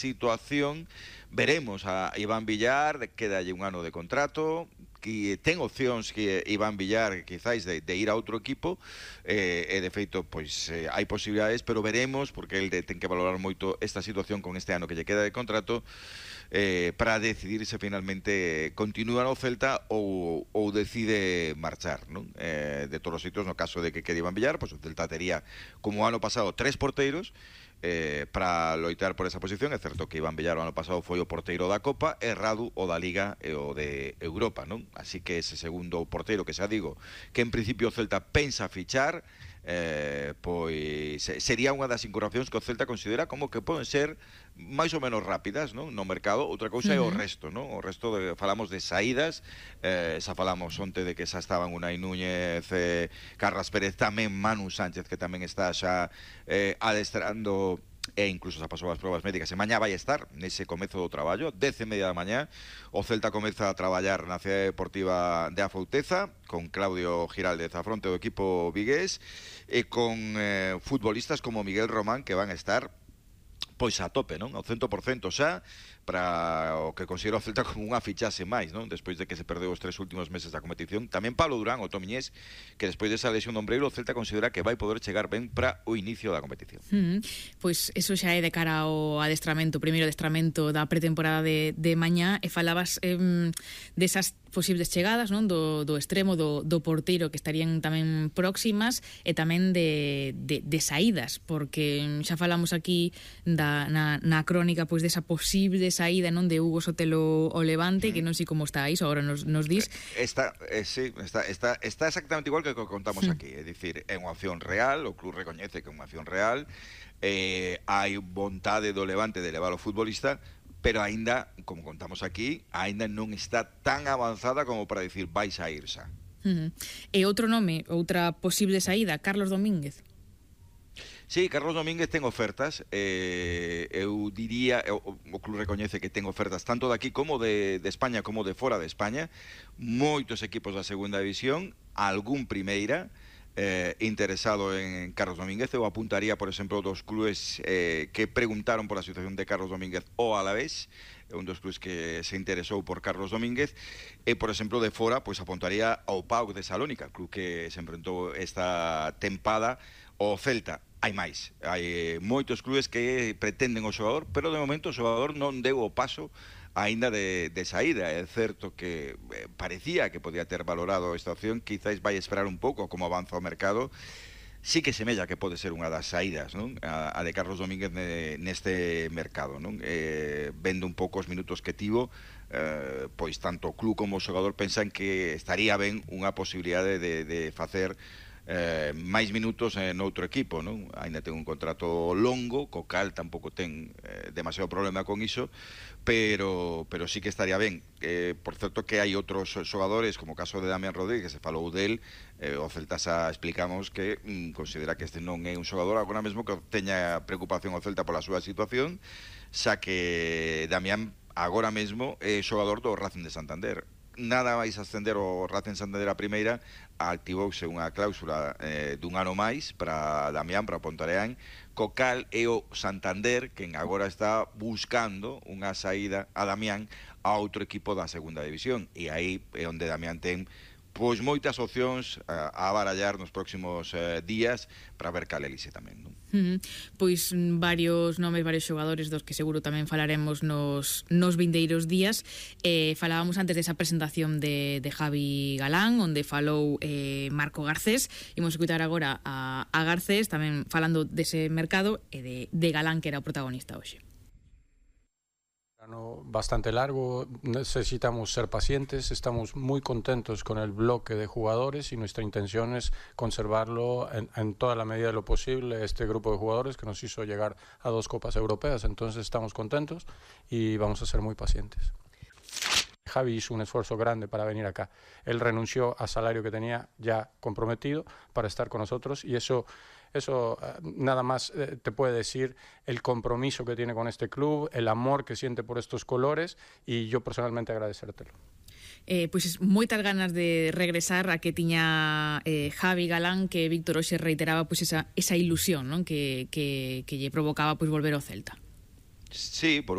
situación, veremos a Iván Villar, quedalle un ano de contrato, que ten opcións que Iván Villar quizáis de ir a outro equipo, e de feito pois hai posibilidades, pero veremos, porque el ten que valorar moito esta situación con este ano que lle queda de contrato, para decidir se finalmente continúa no Celta ou decide marchar, non? De todos os sitios, no caso de que quede Iván Villar, pois o Celta tería, como o ano pasado, 3 porteiros para loitar por esa posición. É certo que Iván Villar o ano pasado foi o porteiro da Copa, e Radu o da Liga e o de Europa, non? Así que ese segundo porteiro, que xa digo que en principio o Celta pensa fichar, pois sería unha das incorporacións que o Celta considera como que poden ser máis ou menos rápidas, non? No mercado. Outra cousa é o resto, non? O resto falamos de saídas, xa falamos onte de que xa estaban Unai Núñez, Carlas Pérez, tamén Manu Sánchez, que tamén está xa adestrando, e incluso xa pasou as probas médicas, e mañá vai estar nese comezo do traballo, 10:30 da mañá. O Celta comeza a traballar na Cidade Deportiva de Afouteza con Claudio Giraldez a fronte do equipo vigués, e con futbolistas como Miguel Román, que van a estar pois a tope, non? Ao 100% xa, para o que considero o Celta como unha fichase máis, non? Despois de que se perdeu os 3 últimos meses da competición. Tamén Pablo Durán, o Tomiñés, que despois desa lesión do ombreiro, o Celta considera que vai poder chegar ben para o inicio da competición. Pois eso xa é de cara ao adestramento, o primeiro adestramento da pretemporada de mañá, e falabas desas posibles chegadas, non? Do extremo do porteiro, que estarían tamén próximas, e tamén de saídas, porque xa falamos aquí na crónica pois desa posible saída, non, de Hugo Sotelo ao Levante, que non sei como está iso, agora nos dis. Está exactamente igual que o que contamos aquí, é dicir, é unha opción real, o club recoñece que é unha opción real, hai vontade do Levante de levar o futbolista, pero aínda, como contamos aquí, aínda non está tan avanzada como para dicir vais a ir xa. E outro nome, outra posible saída, Carlos Domínguez. Sí, Carlos Domínguez ten ofertas, eu diría, o club recoñece que ten ofertas tanto de aquí como de España, como de fora de España, moitos equipos da segunda división, algún primeira, interesado en Carlos Domínguez. Eu apuntaría, por exemplo, dos clubes que preguntaron por a situación de Carlos Domínguez, o Alavés, un dos clubes que se interesou por Carlos Domínguez, e, por exemplo, de fora, pois apuntaría ao PAOK de Salónica, club que se enfrentou esta tempada ao Celta. Hai máis, hai moitos clubes que pretenden o xogador, pero de momento o xogador non deu o paso aínda de saída. É certo que parecía que podía ter valorado esta opción, quizáis vai esperar un pouco como avanza o mercado. Sí que semella que pode ser unha das saídas, non? A de Carlos Domínguez neste mercado, non? Vendo un pouco os minutos que tivo, pois tanto o club como o xogador pensan que estaría ben unha posibilidade de facer máis minutos noutro equipo, non? Ainda ten un contrato longo, co cal tampouco ten demasiado problema con iso, pero sí que estaría ben. Por certo que hai outros xogadores, como o caso de Damián Rodríguez, que se falou del, o Celta xa explicamos que considera que este non é un xogador agora mesmo que teña preocupación o Celta pola súa situación, xa que Damián agora mesmo é xogador do Racing de Santander. Nada máis ascender o Racing Santander a primeira, activouse unha cláusula dun ano máis para Damián, para Pontareán, co cal é o Santander quen agora está buscando unha saída a Damián a outro equipo da segunda división, e aí é onde Damián ten pois moitas opcións a barallar nos próximos días para ver cal elixe tamén, non? Pois varios nomes, varios xogadores dos que seguro tamén falaremos nos vindeiros días. Falábamos antes desa presentación de Javi Galán, onde falou Marco Garcés. Imos escutar agora a Garcés tamén falando dese mercado e de Galán, que era o protagonista hoxe. Bastante largo, necesitamos ser pacientes, estamos muy contentos con el bloque de jugadores y nuestra intención es conservarlo en toda la medida de lo posible, este grupo de jugadores que nos hizo llegar a 2 Copas Europeas, entonces estamos contentos y vamos a ser muy pacientes. Javi hizo un esfuerzo grande para venir acá, él renunció al salario que tenía ya comprometido para estar con nosotros y eso nada más te puede decir el compromiso que tiene con este club, el amor que siente por estos colores y yo personalmente agradecértelo. Pois moitas ganas de regresar a que tiña Javi Galán, que Víctor hoxe reiteraba pois esa ilusión, non? Que lle provocaba pois volver ao Celta. Sí, por